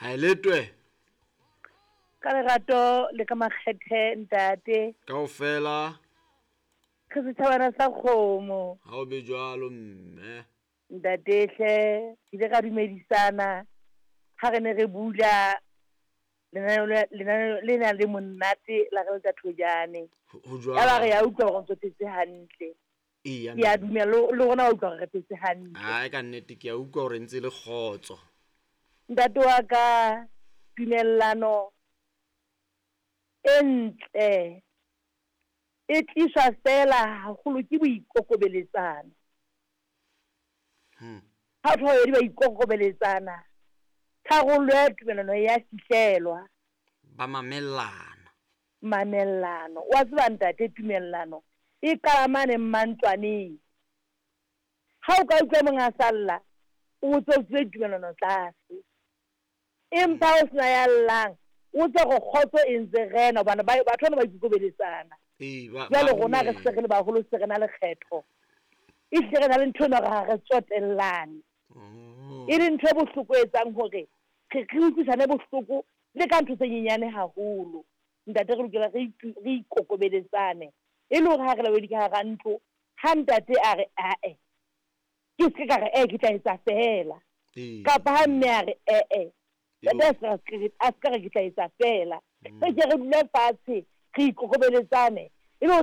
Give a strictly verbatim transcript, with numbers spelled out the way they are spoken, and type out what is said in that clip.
Ha e letwe. Ka lerato le ka makgethe ntate. Kaofela. Re setjhabana sa kgomo. Ha o be jwalo mme. Ntate hle, re ile ra dumedisana ha re ne re bula lenaneo lenaneo le nang le monate la re leta thojane. Ho jwalo. Ya ba re ya utlwa hore ntso phetse hantle. Eya. Ke a dumela le rona wa utlwa hore re phetse hantle. Ai ka nnete ke a utlwa hore ntse le kgotso. Ntate wa ka, tumellano e ntle e tliswa fela haholo ke boikokobeletsano. Hmm. Ha batho ba babedi ba ikokobeletsana, tharollo ya tumellano ya fihlelwa. Ba mamellana. Mamellano. Wa tseba ntate, tumellano e qala mane mmantlwaneng. Ha o ka utlwa mong a salla, o botse o tswile tumellano tlase. Empa ha o sena ya llang, o tse re kgotso e ntse rena hobane ba batho bana ba ikokobeletsana. Ee, ba Jwale ba rona re se re le baholo, se re na le kgetho. Ehlile re na le ntho ena hore ha re tsotellane. Oh. E le ntho e bohloko e etsang hore re re utlwisane bohloko le ka ntho tse nyenyane haholo. Ntate re lokela re re ikokobeletsane. E le hore ha re le babedi ka hara ntlo, ha ntate a re ae, ke se ka re eh ke tla etsa feela. Ee. Kapa ha mme a re eh ntate a se ka a se ka re ke tla etsa feela. Re ke re dule fatshe, re ikokobeletsane,